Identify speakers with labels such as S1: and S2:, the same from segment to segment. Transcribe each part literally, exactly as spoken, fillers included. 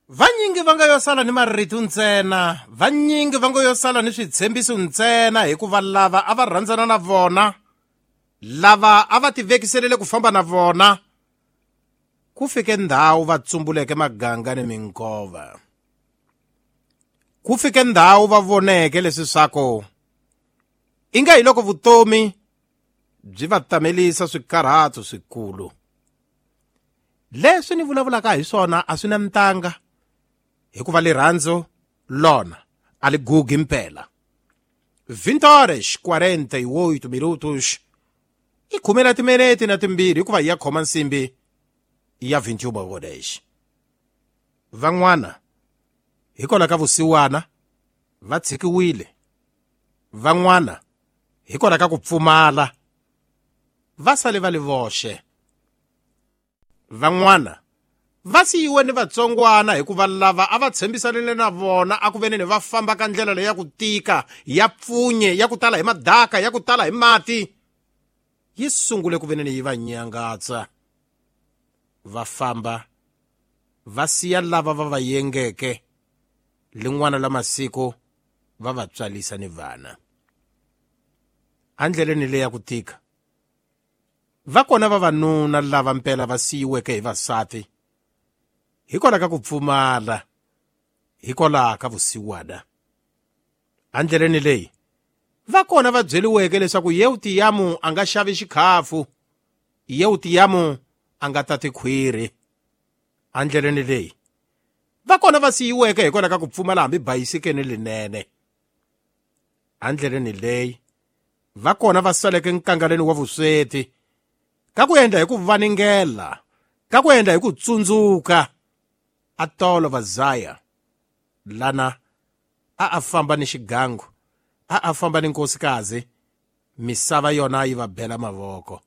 S1: Vanyingi va nga yo sala ni marito ntsena, vanyingi va nga yo sala ni switshembiso ntsena, hikuva lava a va rhandzana na vona, lava a va tivekiselele ku famba na vona, ku fike ndhawu va tsumbuleke maganga ni minkova. Ku fike ndhawu va voneke leswi swaku inga hi loko vutomi byi va tamelisa swikarhato swikulu. Leswi ni vulavulaka hi swona a swi na ntanga, hikuva rirhandzu lona a li gugi mpela. vinte horas quarenta e oito minutos i khume na timinete na timbirhi, hikuva ya khoma nsimbi ya vinte e uma horas. Van'wana hikwalaho ka vusiwana va tshikiwile, van'wana hikwalaho ka ku pfumala va sale va li voxe, van'wana va siyiwe ni vatsongwana hikuva lava a va tshembisanile na vona a ku veneni va famba ka ndlela leyi ya ku tika, ya pfunye, ya ku tala hi madaka, ya ku tala hi mati, yi sungule ku veneni yi va nyangatsa. Va famba va siya lava va va yengeke, lin'wana la masiku va va tswalisa ni vana. Andleleni leyi ya ku tika va kona vavanuna lava mpela va siyiweke hi vasati hikwalaho ka ku pfumala, hikwalaho ka vusiwana. Andleleni leyi va kona va byeliweke leswaku Yeutiyamu a nga xavi xikhafu, Yeutiyamu a nga tati khwiri. Andleleni leyi va kona va siyiweke hikwalaho ka ku pfumala hambi bayisikeni linene. Andleleni leyi va kona va saleke nkangaleni wa vusweti, ka ku endla hi ku vaningela, ka ku endla hi ku tsundzuka a tolo va zaya lana a a famba ni xigangu, a a famba ni nkosikazi, misava yona yi va bela mavoko,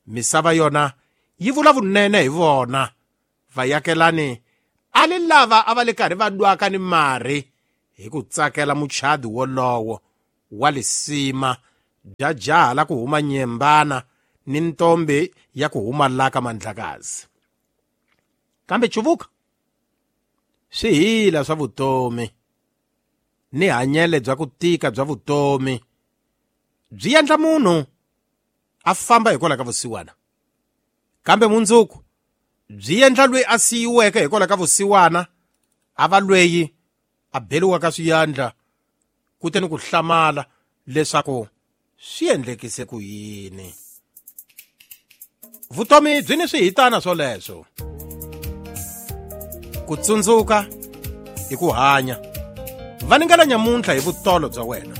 S1: misava yona yi vula vunene hi vona. Vayakelani a li lava a va le karhi va dwaka ni mari hi ku tsakela muchadi wolowo wa lisima bya jaha la ku huma nyembana ni ntombi ya ku huma laka mandlakazi. Kambe chuvuka swihila swa vutomi ni hanyele bya ku tika bya vutomi byi endla munhu a famba hikwalaho ka vusiwana, kambe mundzuku byi endla loyi a siyiweke hikwalaho ka vusiwana a va loyi a beliwaka swiyandla kutani ku hlamala leswaku swi endlekise ku yini. Vutomi byi ni swihitana swoleswo. Ku tsundzuka i ku hanya. Vaningela nyamuntlha hi vutolo bya wena.